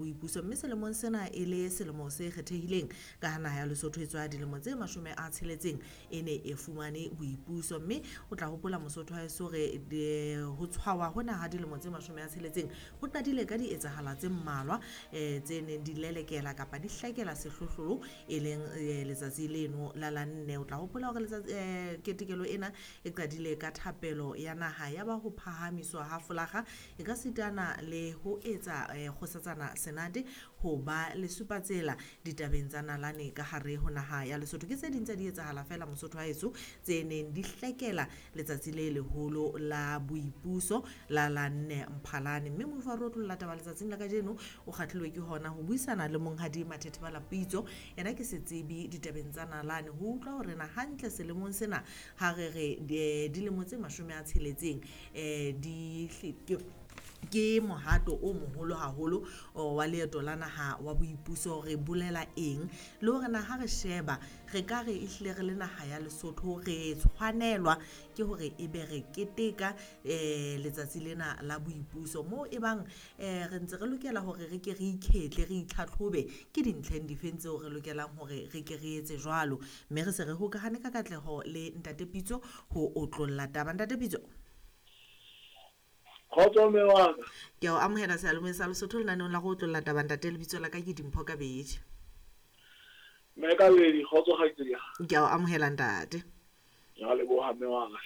Boipuso, mme selemong sena e le selemo se kgethehileng ka ha naha ya Lesotho e tswa dilemo tse 60 e ne e fumane boipuso. Mme o tla hopola, Mosotho wa heso, re ho tshwawa hona ha dilemo tse 60 ho qadile ka dietsahala tse mmalwa tse neng di lelekela kapa di hlakela sehlohlolo, e leng letsatsi leno la la 4. O tla hopola hore letsatsi ketekelo ena e qadile ka thapelo ya naha, ya ba ho phahamiswa ha folaga, e ka sitana le ho etsa kgosatsana Senate ho ba lesupatsela ditabeng tsa nalane ka hare ho naha ya Lesotho. Ke tse ding tsa di etsahala fela, Mosotho wa heso, tse neng di hlekela letsatsi le leholo la boipuso la la 4 Mphalane. Mme moifo wa re otlolla taba letsatsing la kajeno o kgahlilwe ke hona ho buisana le monghadi Mathethe Balapitso, yena ke setsebi ditabeng tsa nalane, ho utlwa hore na hantle selemong sena ha re re dilemo tse 60 di ke mohato o moholo haholo wa leeto la naha wa boipuso, re bolela eng, le hore na ha re sheba re ka re ehlile re le naha ya Lesotho re tshwanelwa ke hore ebe re keteka letsatsi lena la boipuso, moo e bang re ntse re lokela hore re ke re ikhetle, re itlhatlhobe ke dintlheng difeng tseo re lokelang hore re ke re etse jwalo. Mme re se re hokahane ka katleho le Ntate Pitso ho otlolla taba. Ntate Pitso, Kgotso, mme wa ka. Ke a o amohela seyalemoyeng sa Lesotho lenaneong la go otlolla taba, ntate. Lebitso la ka ke Dimpho Kabedi. Mme Kabedi, kgotso, kgaitsedi ya ka. Ke a o amohela, ntate. Ke a leboha, mme wa ka.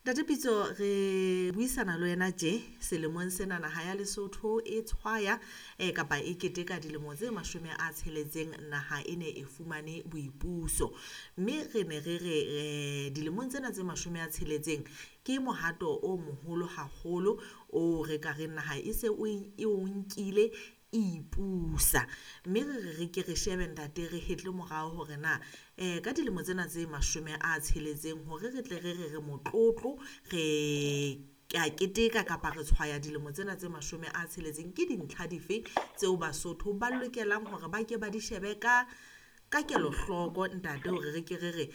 Ntate Pitso, re buisana le wena tje selemong sena naha ya Lesotho e tshwaya kapa e keteka dilemo tse 60 naha e ne e fumane boipuso. Mme re ne re re dilemong tsena tse 60 ke mohato o moholo haholo o re ka reng naha e se e o nkile e ipusa. Mme re re re ke re shebe, ntate, re hetle morao hore na ka dilemo tsena tse 60 hore re tle re re re motlotlo, re ka keteka kapa re tshwaya dilemo tsena tse 60, ke dintlha dife tseo Basotho ba lokelang hore ba ke ba di shebe ka kelohloko, ntate, hore re ke re re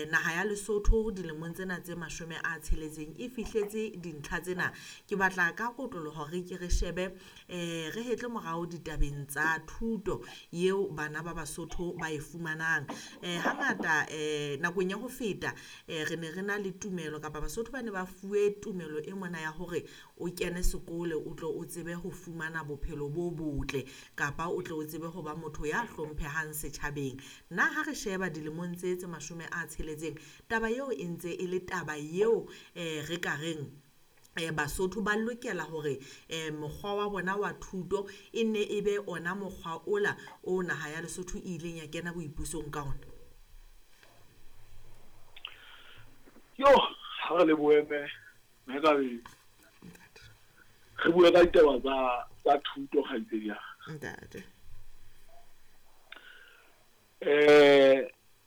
naha ya Lesotho dilemong tsena tse 60 e fihletse dintlha tsena? Ke batla ka kotloloho re ke re shebe, re hetle morao ditabeng tsa thuto eo bana ba Basotho ba e fumanang. Hangata nakong ya ho feta re ne re na le tumelo, kapa Basotho ba ne ba fuwe tumelo e mona ya hore o kene sekolo o tlo o tsebe ho fumana bophelo bo botle, kapa o tle o tsebe ho ba motho ya hlomphehang setjhabeng. Na ha re sheba dilemong tse tse 60, taba eo e ntse e le taba eo re ka reng Basotho ba lokela hore mokgwa wa bona wa thuto e nne e be ona mokgwa ola o naha ya Lesotho e ileng ya kena boipusong ka ona? Yo, ha re lebohe, mme Kabedi. Re bue ka ditaba tsa thuto, kgaitsedi ya ka. Ntate.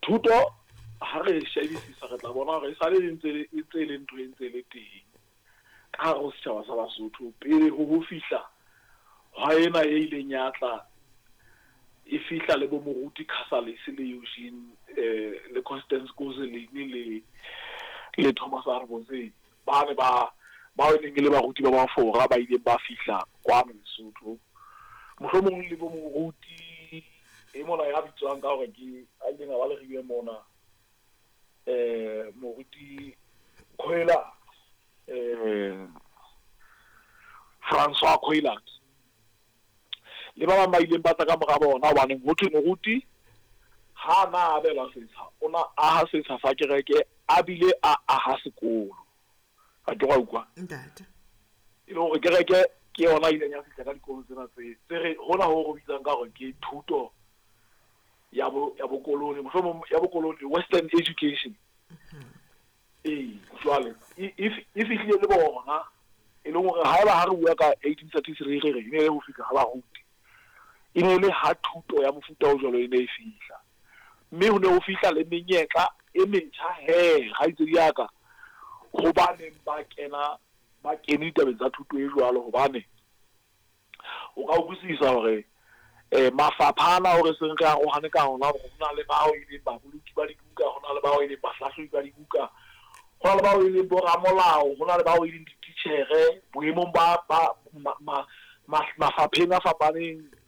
Thuto ha re shebisisa, re tla bona hore e sale e ntse e ntse e le ntho e ntse e le teng ka hare ho setjhaba sa Basotho pele ho fihla hwa ena e ileng ya tla e fihla le bo moruti Casalis le Eugene le Constance Goselin le Thomas Arbosey, ba ne ba bao e neng e le baruti ba Mafora ba ileng ba fihla kwano Lesotho, mohlomong le bo moruti e mona ya bitswang ka hore ke a ileng a ba leriwe mona, moruti Coillard, Francois Coillard, le ba bang ba ileng ba tla ka mora bona, hobaneng ho thwe moruti ha na abelwa setsha, o na aha setsha sa kereke a bile a aha sekolo. A ke wa utlwa? Ntate. E le hore kereke ke yona e ileng ya fihla ka dikolo tsena tse re hona ho re bitsang ka hore ke thuto ya bokoloni, mohlomong ya bokoloni, western education. Ee, jwale e fihlile le bona, e leng hore haeba ha re bua ka 1833, re re e ne le ho fihla ha baruti, e ne le ha thuto ya mofuta o jwalo e ne e fihla, mme ho ne ho fihla le menyetla e metjha he, kgaitsedi ya ka, ho ba neng ba kena ba kene ditabeng tsa thuto e jwalo, hobane o ka utlwisisa hore mafapha ana o re seng re arohane ka ona, hore ho na le bao e leng baboloki ba dibuka, ho na le bao e leng bahlahlobi ba dibuka, ho na le bao e leng boramolao, ho na le bao e leng dititjhere boemong ba Mafapheng a fapaneng.